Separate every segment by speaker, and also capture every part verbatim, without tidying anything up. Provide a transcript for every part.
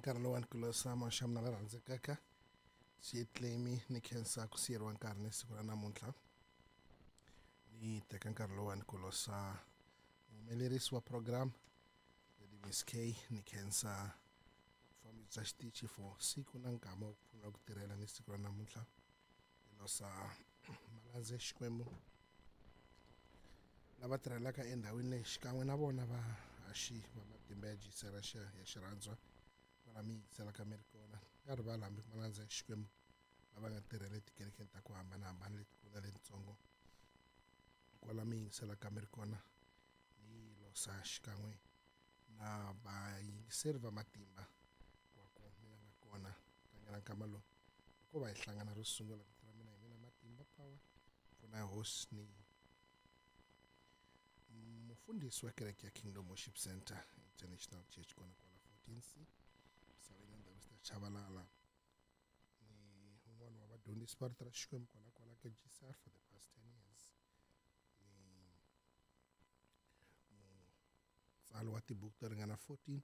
Speaker 1: nkarhi lowani ku losa maxamu na la rhandzekaka xitlemi ni khensa ku siyeriwa nkarhi ni siku ra namuntlha ni teka nkarhi lowani ku losa muhumelerisi wa program Lady Miss K ni khensa vufambisi bya xitichi for siku na nkama wa ku pfuna ku tirhela ni siku ra namuntlha ni losa malandza ya Xikwembu lava tirhelaka endhawini leyi xikan'we na vona vahaxi va matimba ya G C R ya xirhandzwa kwala mi yingiselaka mi ri kona nga rivali hambi malandza ya Xikwembu lava nga tirhela etikerekeni ta ku hambanahambana letikulu na letitsongo kwala mi yingiselaka mi ri kona ni losa xikan'we na vayingiseri va matimba wa ku mina nga kona tlangela nkama lowu hikuva hi hlangana ro sungula vito ra mina hi mina Matimba Power pfuna ya hosi ni mufundhisi wa kereke ya Kingdom Worship Center International Church kona kwala fourteen C misaveni ya ndhawu ta Chavalala ni un'wana wa vadyondzisi va rito ra Xikwembu kona kwala ka G C R for the past ten years ni mutsali wa tibuku to ringana fourteen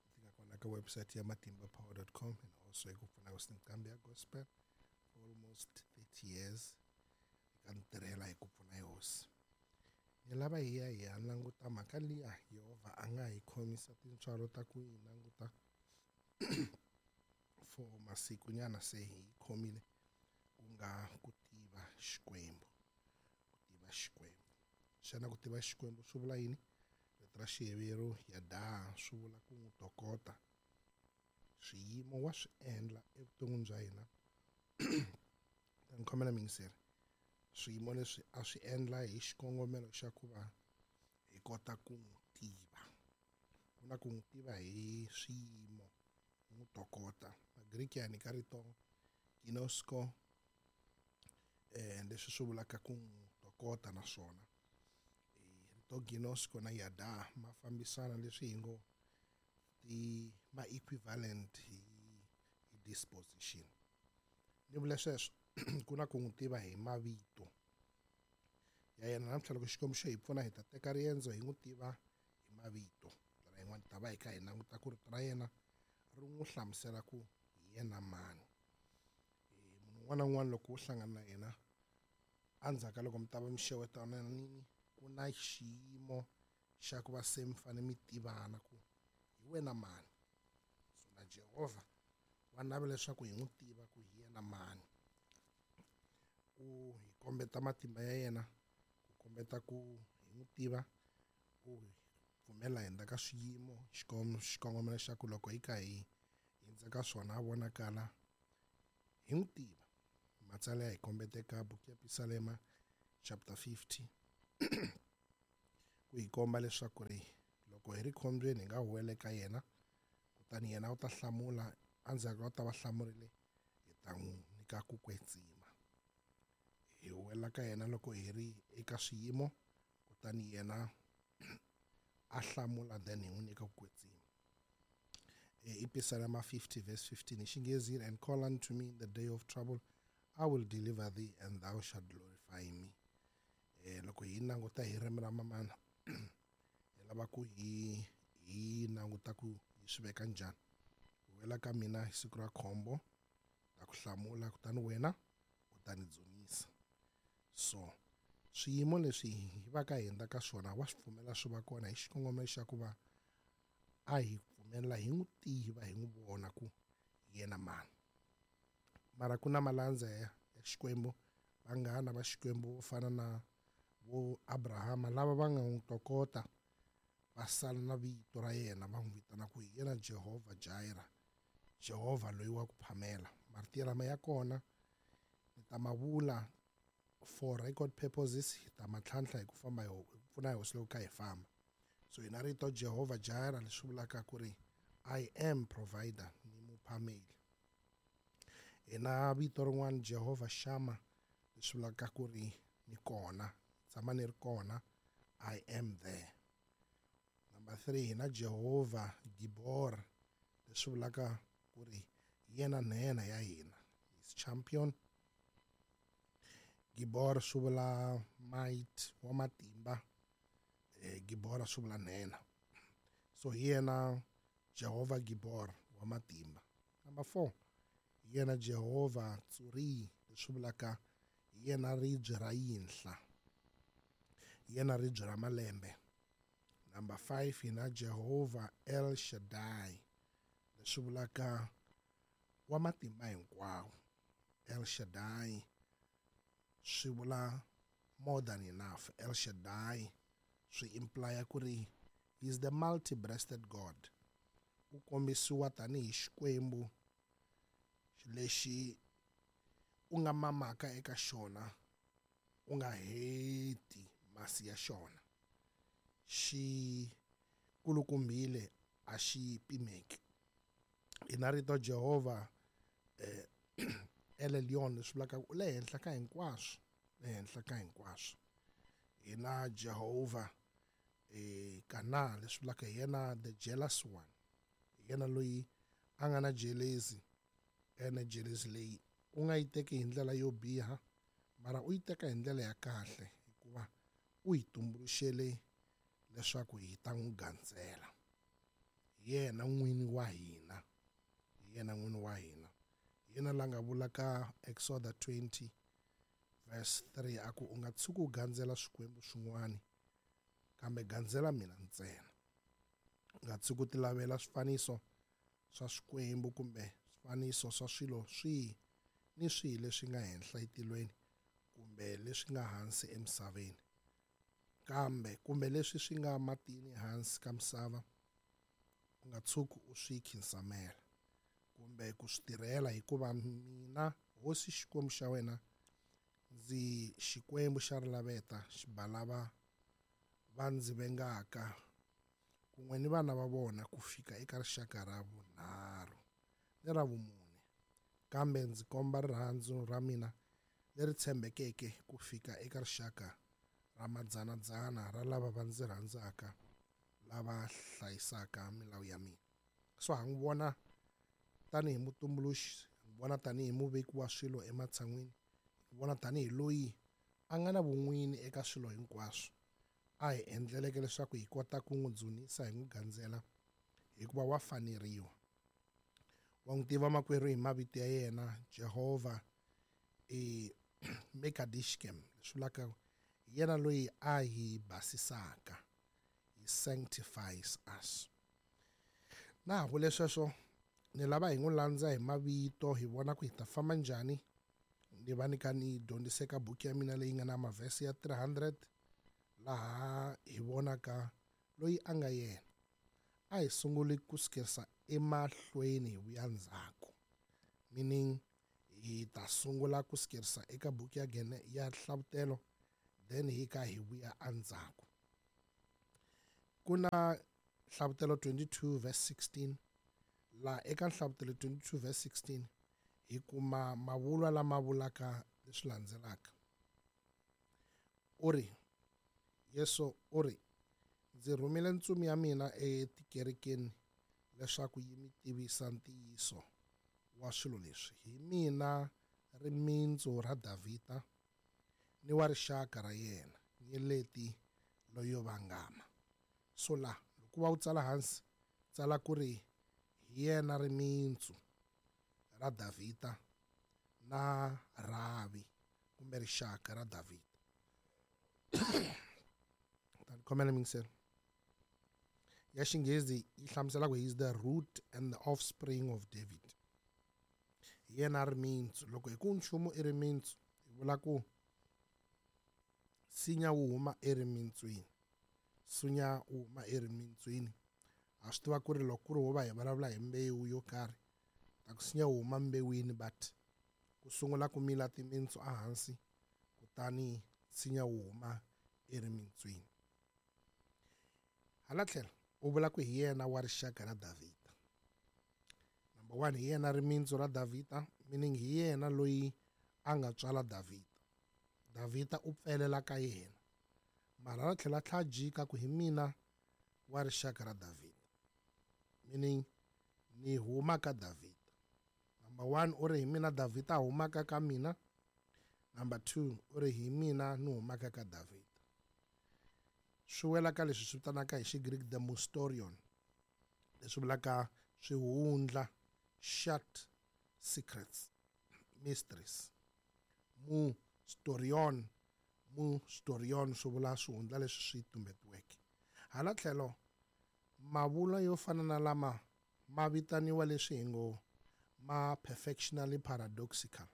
Speaker 1: leti nga kona ka website ya matimba power dot com and also hi ku pfuna hosi nqambi ya gospel for almost thirty years eka ntirhela hi ku pfuna hosi ni lava hi ya hi ya languta mhaka liya Yehovha a nga hi khomisa tintswalo ta ku yi languta for masiku nyana se hi khomile ku nga ku tiva Xikwembu. Ku tiva Xikwembu, xana ku tiva Xikwembu swi vula yini? Rito ra Xiheveru yada swi vula ku n'wi tokota. Swiyimo wa swi endla evuton'wini bya hina ta ni khomela miyingiseri swiyimo leswi a swi endla hi xikongomelo xa ku va hi kota ku n'wi tiva. Ku na ku n'wi tiva hi swiyimo n'wi tokota Magriki ya nyika rito ginosko eh leswi swi vulaka ku n'wi tokota naswona rito ginosko na yada ma fambisana leswi hi ngo ti ma equivalent hi, hi disposition. Ni vula sweswo ku na ku n'wi tiva hi mavito ya yena. Namuntlha loko Xikwembu xo hi pfuna hi ta teka riendzo hi n'wi tiva hi mavito. Ndlela yin'wana ta va hi kha hi languta ku rito ra yena ri n'wi hlamusela ku hi yena mani. Munhu un'wana na un'wana loko wo hlangana na yena endzhaku ka loko mi ta va mi xewetananini ku na xiyimo xa ku va se mi fane mi tivana ku hi wena mani. So na Jehovha wa navela leswaku hi n'wi tiva ku hi yena mani ku hi kombeta matimba ya yena ku kombeta ku hi n'wi tiva ku hi pfumela hundza ka swiyimo xikongomelo xa ku loko hi kha hi hindza ka swona a vonakala hi n'wi tiva. Matsalwa ya hi kombeta eka buku ya Pisalema chapter fifty ku hi komba leswaku ri loko hi ri khombyeni hi nga huwela eka yena kutani yena u ta hlamula endzhaku u ta va hlamurile hi ta n'wi nyika ku kwetsima. Hi huwela ka yena loko hi ri eka swiyimo kutani yena a hlamula then hi n'wi nyika ku kwetsima. I Pisalema fifty verse fifteen hi Xinghezi: "And call unto me in the day of trouble, I will deliver thee and thou shalt glorify me." eh loko hi languta hi ririmi ra mamana hi lava ku hi hi languta ku hi swi veka njhani. Wela ka mina hi siku ra khombo ta ku hlamula kutani wena u ta ni dzunisa. So swiyimo leswi hi va ka hindza ka swona wa swi pfumela swi va kona hi xikongomelo xa ku va a hi pfumelela hi n'wi tiva hi n'wi vona ku yena mani. Mara ku na malandza ya Xikwembu vanghana va Xikwembu vo fana na vo Abrahama lava va nga n'wi tokota va sala na vito ra yena va n'wi vitana ku hi yena Jehovha Jireh, Jehovha loyi wa ku phamela. Marito lama ya kona ni ta ma vula for record purposes hi ta ma tlhantlha hi ku famba hi ku pfuna hi hosi loko kha hi famba. So hi na rito Jehovha Jireh leswi vulaka ku ri I am provider ni muphameli. Hi na vito rin'wana Jehovha Shama leswi vulaka ku ri ni kona tshama ni ri kona, I am there. Number three hi na Jehovha Gibor leswi vulaka ku ri yena nhenha ya hina, is champion. Gibor swi vula might wa matimba eh Gibora swi vula nhenha. So hi yena Jehovha Gibor wa matimba. Number four, hi yena Jehovha Tsuri, leswi vulaka hi yena ribye ra yinhla, hi yena ribye ra malembe. Number five, hi na Jehovha El Shaddai, leswi vulaka wa matimba hinkwawo. El Shaddai swi vula more than enough. El Shaddai swi implya ku ri he is the multi-breasted God. U kombisiwa tanihi Xikwembu lexi u nga mamaka eka xona u nga heti masi ya xona. Xi kulukumbile a xi pimeki. Hi na rito Jehovha eh, El Elyon, leswi vulaka u le henhla ka hinkwaswo, le henhla ka hinkwaswo. Hi na Jehovha eh, Kana, leswi vulaka hi yena the jealous one, hi yena loyi a nga na jealousy, ene jealousy leyi u nga yi teki hi ndlela yo biha, mara u yi teka hi ndlela ya kahle, hikuva u hi tumbuluxele leswaku hi ta n'wi gandzela. Hi yena n'wini wa hina, hi yena n'wini wa hina. Hi yena la nga vula ka Exodus twenty verse three a ku u nga tshuki u gandzela swikwembu swin'wana, kambe gandzela mina ntsena. U nga tshuki u ti lavela swifaniso swa swikwembu kumbe swifaniso swa swilo swihi ni swihi leswi nga henhla etilweni kumbe leswi nga hansi emisaveni, kambe kumbe leswi swi nga matini hansi ka misava, u nga tshuki u swi khinsamela kumbe ku swi tirhela, hikuva mina Hosi Xikwembu xa wena ndzi Xikwembu xa rilaveta, xi ba lava va ndzi vengaka kun'we ni vana va vona ku fika eka rixaka ra vunharhu ni ra vumune, kambe ndzi komba rirhandzu ra mina leri tshembekeke ku fika eka rixaka ra madzanadzana ra lava va ndzi rhandzaka, lava hlayisaka milawu ya mina. So ha n'wi vona tanihi mutumbuluxi, ha n'wi vona tanihi muveki wa swilo ematshan'wini, hi vona tanihi loyi a nga na vun'wini eka swilo hinkwaswo, a hi endleleke leswaku hi kota ku n'wi dzunisa hi n'wi gandzela, hikuva wa faneriwa. Wa n'wi tiva makwerhu hi mavito ya yena, Jehovha e Mekadishkem, leswi vulaka yena loyi a hi basisaka, he sanctifies us. Na ha vule sweswo, ni lava hi n'wi landza hi mavito, hi vona ku hi ta famba njhani. Ni va ni ka ni dyondzise ka buku ya mina leyi nga na mavhesi ya three hundred, laha hi vonaka loyi a nga yena. A hi sunguli ku sukerisa emahlweni hi vuya ndzhaku, meaning hi ta sungula ku sukerisa eka buku ya Gene ya Hlavutelo, then hi ka hi vuya endzhaku. Ku na Hlavutelo twenty-two verse sixteen, laha eka Hlavutelo twenty-two verse sixteen hi kuma mavulwa lama vulaka leswi landzelaka. U ri, Yesu u ri, ndzi rhumile ntsumi ya mina etikerekeni leswaku yi mi tivisa ntiyiso wa swilo leswi. Hi mina rimintsu ra Davhida ni wa rixaka ra yena, nyeleti loyo vangama. So la loko va wu tsala hansi, tsala ku ri hi yena rimintsu ra Davhida na rhavi kumbe rixaka ra Davhida. Tani khomela mingiselo. Ya Xinghezi yi hlamusela ku he is the root and the offspring of David. Hi yena rimintsu. Loko hi ku nchumu i rimintsu, hi vula ku nsinya wu huma erimintswini. Nsinya wu huma erimintswini. Ha swi tiva ku ri loko ku ri ho va hi vulavula hi mbewu yo karhi, ta ku nsinya wu huma mbewini, but ku sungula ku mila timintsu ehansi, kutani nsinya wu huma erimintswini. Hala tlhelo u vula ku hi yena wa rixaka ra Davhida. Number one, hi yena rimintsu ra Davhida, meaning hi yena loyi a nga tswala Davhida. Davhida u pfelela ka yena, mara ra tlhela tlha jika ku hi mina wa rixaka ra Davhida, meaning ni huma ka Davhida. Number one, u ri hi mina Davhida a humaka ka mina. Number two, u ri hi mina ni humaka ka Davhida. Swi wela ka leswi swi vitanaka hi Xigreek the Mustorion, leswi vulaka swihundla, shut secrets, mysteries. Mu storion, mu storion swi vula swihundla leswi swi tumbetiweke. Hala tlhelo mavulwa yo fana na lama ma vitaniwa leswi hi ngo ma perfectionally paradoxical.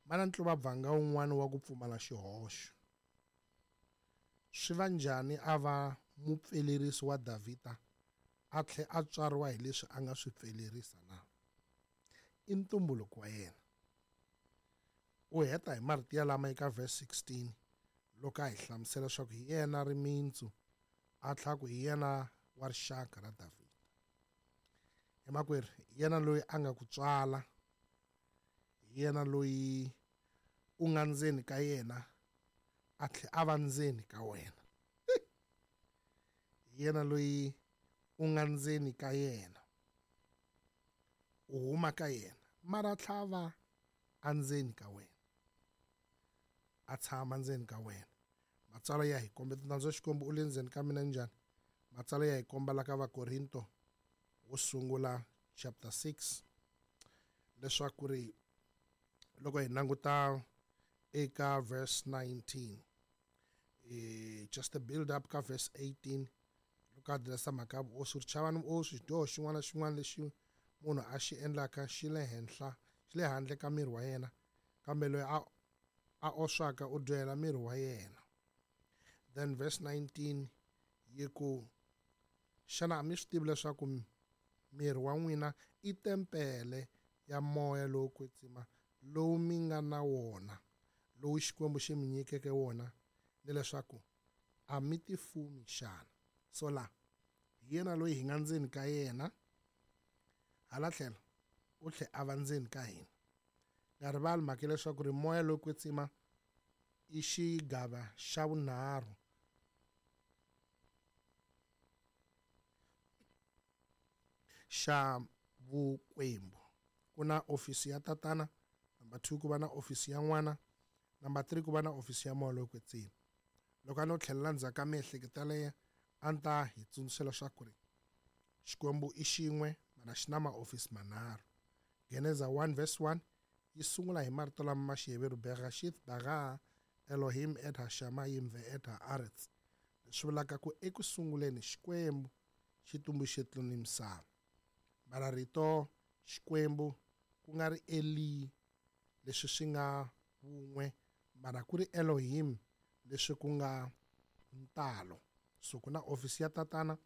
Speaker 1: Ma na ntluvabvanga wun'wana wa ku pfumala xihoxo. Swi va njhani a va mupfelerisi wa Davhida a tlhe a tswariwa hi leswi a nga swi pfelerisa na? I ntumbuluko wa yena. U heta hi marito ya lama eka verse sixteen loko a hi hlamusela leswaku hi yena rimintsu a tlha ku hi yena wa rixaka ra Davhida. Emakwerhu, yena loyi a nga ku tswala, yena loyi u nga ndzeni ka yena a tlhe a va ndzeni ka wena. Yena loyi u nga ndzeni ka yena, u huma ka yena, mara tlha va andzeni ka wena, a tshama ndzeni ka wena. Matsalwa ya hi komba nandzu wa Xikwembu u le ndzeni ka mina njhani? Matsalwa ya hi komba la ka Vakorinto wo sungula chapter six leswaku ri loko hi languta eka verse nineteen, eh, just a build up ka verse eighteen loko a addressa mhaka ya vuoswi, ri chavani vuoswi, xidyoho xin'wana na xin'wana lexi munhu a xi endlaka xi le henhla, xi le handle ka miri wa yena, kambe loyi a, a oswaka u dyohela miri wa yena. Then verse nineteen yi ku, xana a mi swi tivi leswaku miri wa n'wina i tempele ya moya lowo kwetsima lowu mi nga na wona, lowu Xikwembu xi mi nyikeke wona, ni leswaku a mi tifumi xana? So la hi yena loyi hi nga ndzeni ka yena, hala tlhelo u tlhe a va ndzeni ka hina. Nga rivali mhaka leswaku ri moya lowo kwetsima i xigava xa vunharhu xa vukwembu. Ku na ofisi ya tatana, number two ku va na ofisi ya n'wana, number three ku va na ofisi ya moya lowo kwetsima. Loko a no tlhelela ndzhaku ka miehleketo yaleyo, a ni ta hi tsundzuxa leswaku ri Xikwembu i xin'we mara xi na maofisi manharhu. Geneza one verse one yi sungula hi marito lama ma Xiheveru, Bereshith bara Elohim et hashamayim ve et haaretz, leswi vulaka ku eku sunguleni Xikwembu xi tumbuluxe tilo ni misava. Mara rito Xikwembu ku nga ri Eli leswi swi nga wun'we, mara ku ri Elohim leswi ku nga ntalo. So ku na ofisi ya tatana,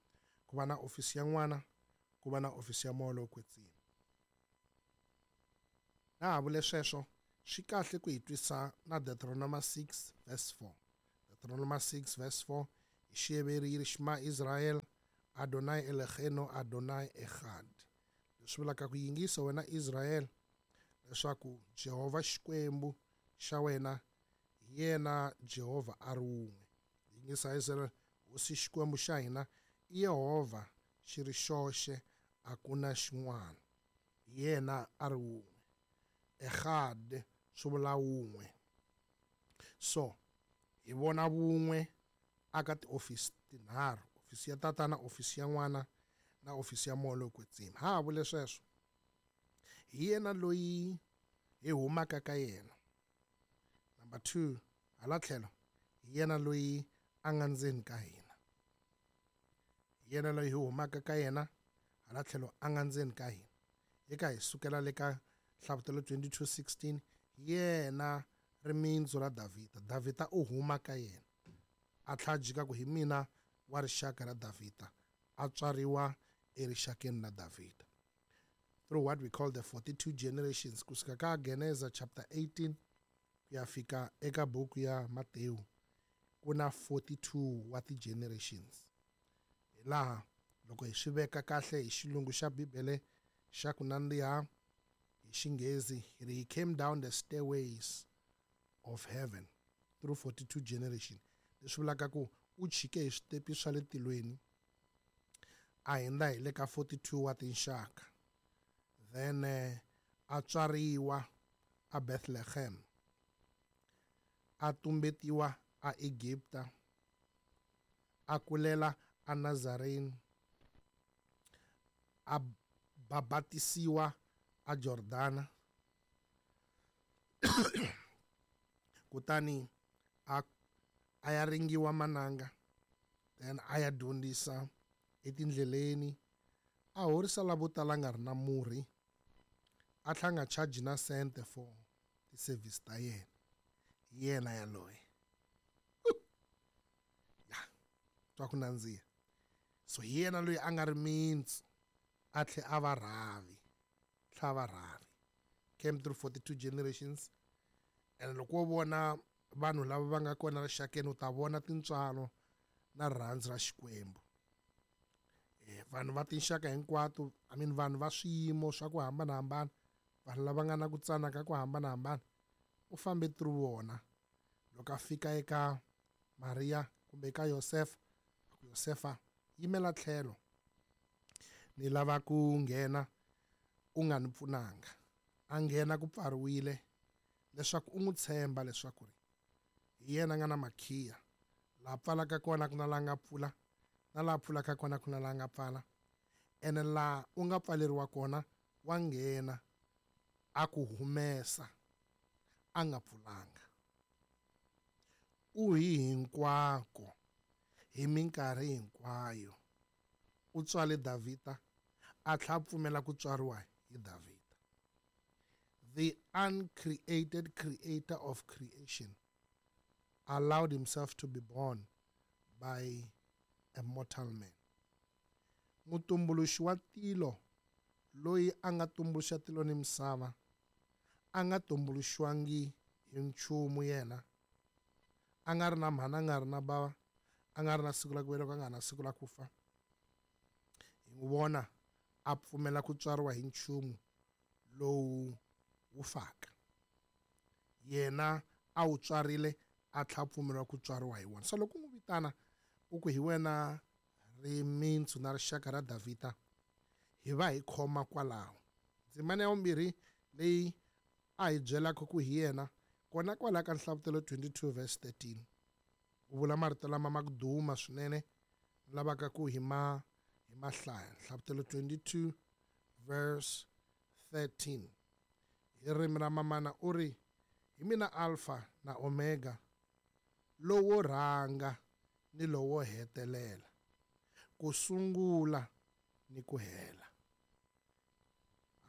Speaker 1: ku va na ofisi ya n'wana, ku va na ofisi ya moya lowo kwetsima. Na ha vule sweswo, swi kahle ku hi twisa na Deuteronomy six verse four. Deuteronomy six verse four hi Xiheveru yi ri Shema Israel, Adonai Eloheinu Adonai Echad. Leswi vulaka ku yingisa wena Israel leswaku Jehovha Xikwembu xa wena hi yena Jehovha a ri wun'we. Yingisa Israel, Hosi Xikwembu xa hina i Yehovha xi ri xoxe, a ku na xin'wana, hi yena a ri wun'we. Echad swi vula wun'we. So hi vona vun'we aka tiofisi tinharhu, ofisi ya tatana, ofisi ya n'wana na ofisi ya moya lowo kwetsima. Ha ha vule sweswo, hi yena loyi hi humaka ka yena. Number two, hala tlhelo hi yena loyi a nga ndzeni ka hina. Hi yena loyi hi humaka ka yena, hala tlhelo a nga ndzeni ka hina. Eka hi sukela le ka Hlavutelo twenty-two sixteen, yena rimintsu ra Davhida. Davhida u huma ka yena, a tlha jika ku hi mina wa rixaka ra Davhida, a tswariwa erixakeni ra Davhida. Through what we call the forty-two generations, kusuka ka Geneza chapter eighteen ku ya fika eka buku ya Matewu, ku na forty-two wa ti-generations. Hi laha loko hi swi veka kahle hi xilungu xa Bibele xa ku nandziha hi Xinghezi, he came down the stairways of heaven through forty-two generations. Leswi vulaka ku u chike hi switepi swa le tilweni a hundza hi le ka forty-two wa tinxaka. Then a tswariwa a Bethlehem, a tumbetiwa a Egipta, a kulela a Nazarene, a Babatisiwa a Jordana. Kutani a a ya ringiwa mananga, then a ya dyondzisa etindleleni, a horisa lavo tala a nga ri na murhi, a tlhela a nga charge na sente for ti-service ta yena. Hi yena yaloye. Ya twa ku nandziha. So hi yena loyi a nga ri mintsu, a tlhela a va rhavi, tlhela a va rhavi. Came through forty-two generations. And loko wo vona vanhu lava va nga kona rixakeni, u ta vona tintswalo na rirhandzu ra Xikwembu. Eh, vanhu va tinxaka hinkwato, I mean vanhu va swiyimo swa ku hambanahambana, vanhu lava nga na ku tsana ka ku hambanahambana, u fambe through vona. Loko a fika eka Maria kumbe eka Yosefa, a ku Yosefa, yimela tlhelo, ni lava ku nghena u nga ni pfunanga. A nghena ku pfariwile, leswaku u n'wi tshemba leswaku ri hi yena a nga na makhiya. Laha pfalaka kona ku na laha nga pfula, na laha pfulaka kona ku na laha nga pfala. Ene laha u nga pfaleriwa kona wa nghena a ku humesa a nga pfulanga. U hi hinkwako hi minkarhi hinkwayo. U tswale Davhida, a tlhela a pfumela ku tswariwa hi Davhida. The uncreated creator of creation allowed himself to be born by a mortal man. Mutumbuluxi wa tilo, loyi a nga tumbuluxa tilo ni misava, a nga tumbuluxiwangi hi nchumu yena. A nga ri na mhana, a nga ri na bava, a nga ri na siku la ku velekiwa, a nga ri na siku la ku fa. Hi n'wi vona a pfumela ku tswariwa hi nchumu lowu wu faka. Yena a wu tswarile, a tlhela a pfumeriwa ku tswariwa hi wona. So loko u n'wi vitana u ku hi wena rimintsu na rixaka ra Davhida, hi va hi khoma kwalaho. Ndzimana ya vumbirhi leyi a hi byelaka ku hi yena, kona kwalaho ka Nhlavutelo twenty-two verse thirteen. U vula marito lama ma ku duma swinene, lavaka ku hi ma hi ma hlaya. Nhlavutelo twenty-two verse thirteen. Hi ririmi ra mamana u ri, hi mina Alpha na Omega, lowo rhanga ni lowo hetelela, ku sungula ni ku hela.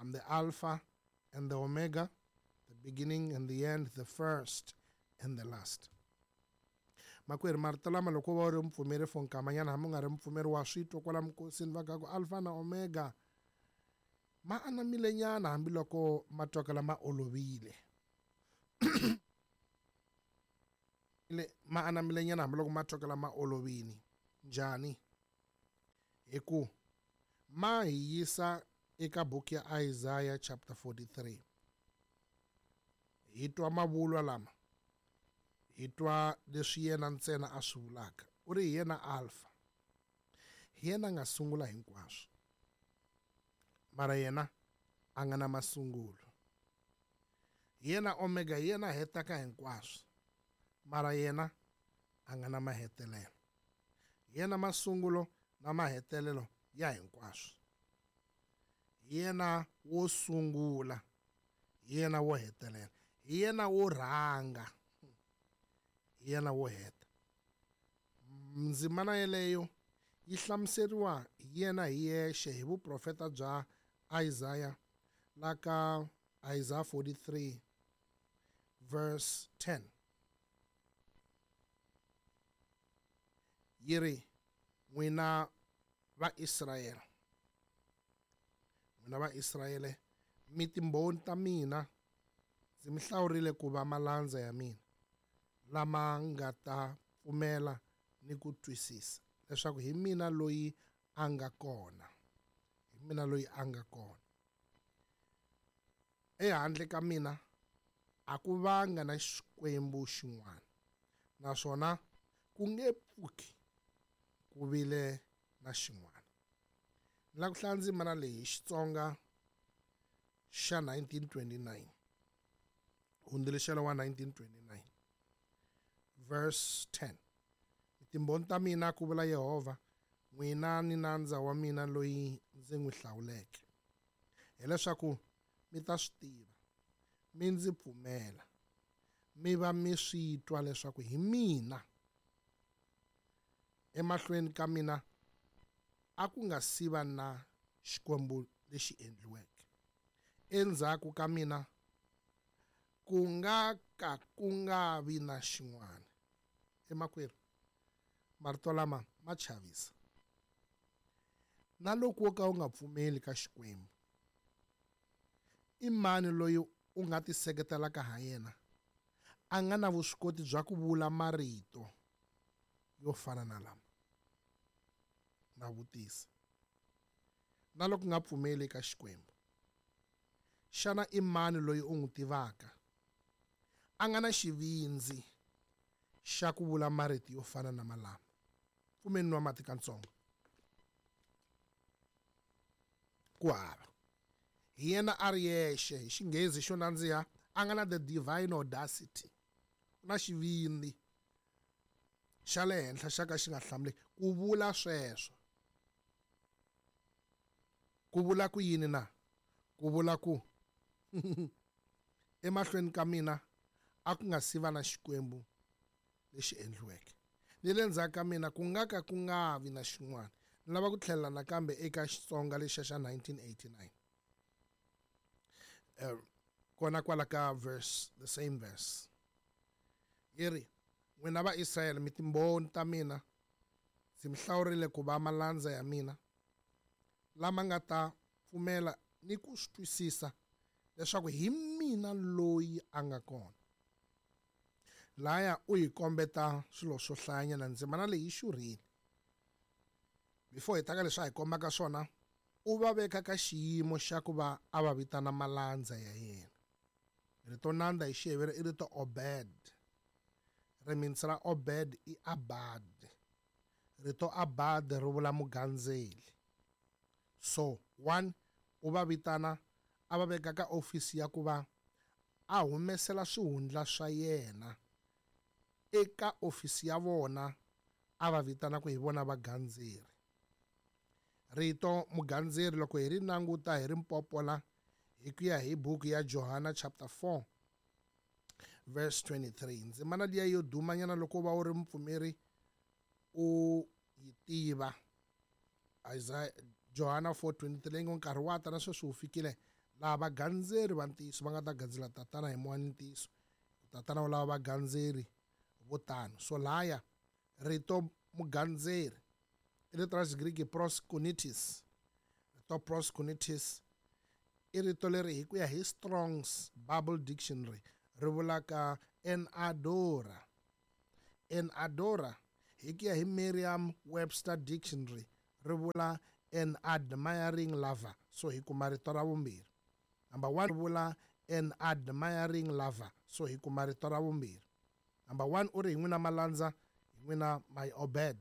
Speaker 1: I'm the Alpha and the Omega, the beginning and the end, the first and the last. Makwerhu, marito lama loko va u ri mupfumeri for nkamanyana, hambi u nga ri mupfumeri wa swi twa kwala minkosini va ka ku Alpha na Omega ma anamile nyana, hambiloko ma twakala ma olovile. Ma anamile nyana hambiloko ma twakala ma olovile. Njhani? Hi ku ma hi yisa eka buku ya Isaiah chapter forty-three. Hi twa mavulwa lama, hi twa leswi yena ntsena a swi vulaka. U ri hi yena Alpha, hi yena a nga sungula hinkwaswo, mara yena a nga na masungulo. Hi yena Omega, hi yena a hetaka hinkwaswo, mara yena a nga na mahetelelo. Hi yena masungulo na mahetelelo ya hinkwaswo. Hi yena wo sungula, hi yena wo hetelela, hi yena wo rhanga, hi yena wo heta. Ndzimana yeleyo yi hlamuseriwa hi yena hi yexe hi vuprofeta bya Isaiah, la ka Isaiah forty-three verse ten. Yi ri, n'wina va Israyele, n'wina va Israyele, mi timbhoni ta mina, ndzi mi hlawurile ku va malandza ya mina, lama nga ta pfumela ni ku twisisa leswaku hi mina loyi a nga kona, hi mina loyi a nga kona. Ehandle ka mina a ku vanga na xikwembu xin'wana, naswona ku nge pfuki ku vile na xin'wana. Ni lava ku hlaya ndzimana leyi hi Xitsonga xa nineteen twenty-nine, hundzuluxelo wa nineteen twenty-nine verse ten. Timbhoni ta mina, ku vula Yehovha, n'wina ni nandza wa mina loyi ndzi n'wi hlawuleke, Hileswaku mi ta swi tiva, mi ndzi pfumela, mi va mi swi twa leswaku hi mina. Emahlweni ka mina a ku nga si va na xikwembu lexi endliweke, endzhaku ka mina ku nga ka ku nga vi na xin'wana. Emakwerhu, marito lama ma chavisa. Na loko wo ka u nga pfumeli ka Xikwembu, i mani loyi u nga tiseketelaka ha yena a nga na vuswikoti bya ku vula marito yo fana na lama? Na vutisa. Na loko u nga pfumeli eka Xikwembu, xana i mani loyi u n'wi tivaka a nga na xivindzi xa ku vula marito yo fana na malama? Pfumeni nwa mati katsongo. Ku hava. Hi yena a ri yexe, hi xinghezi xo nandziha, a nga na the divine audacity, na xivindzi xa le henhla xa ka xi nga hlamuleki ku vula sweswo. Ku vula ku yini na? Ku vula ku emahlweni ka mina a ku nga si va na xikwembu lexi endliweke, ni le ndzhaku ka mina ku nga ka ku nga vi na xin'wana. Ni lava ku tlhelela nakambe eka Xitsonga lexiya xa nineteen eighty-nine. Uh, kona kwala ka verse, the same verse. Yi ri, n'wina va Israyele mi timbhoni ta mina, ndzi mi hlawurile ku va malandza ya mina lama nga ta pfumela ni ku swi twisisa leswaku hi mina loyi a nga kona. Laya u hi kombeta swilo swo hlayanyana, ndzimana leyi yi xurhile. Before hi ta ka leswi a hi kombaka swona, u va veka ka xiyimo xa ku va a va vitana malandza ya yena. Rito nandza hi Xiheveri i rito Obed. Rimitsu ra Obed i Abad. Rito Abad ri vula mugandzeli. So, one, u va vitana a va veka ka ofisi ya ku va a humesela swihundla swa yena eka ofisi ya vona, a va vitana ku hi vona vagandzeri. Rito mugandzeri loko hi ri languta hi ri mpopola hi ku ya hi buku ya Johana chapter four verse twenty-three. Ndzimana liya yo dumanyana loko va u ri mupfumeri u yi tiva. Isaiah Johana four twenty-three leyi ngo nkarhi wa ta na sweswi wu fikile laha vagandzeri va ntiyiso va nga ta gandzela tatana hi moya ni ntiyiso. Tatana wu lava vagandzeri vo tano. So laya rito mugandzeri i rito ra Xigriki proskunitis. Rito proskunitis i rito leri hi ku ya hi Strong's Bible Dictionary ri vulaka an adorer. An adorer hi ku ya hi Merriam-Webster Dictionary ri vula an admiring lover. So hi kuma rito ra vumbirhi. Number one ri vula an admiring lover. So hi kuma rito ra vumbirhi. Number one u ri hi n'wina malandza, hi n'wina my Obed.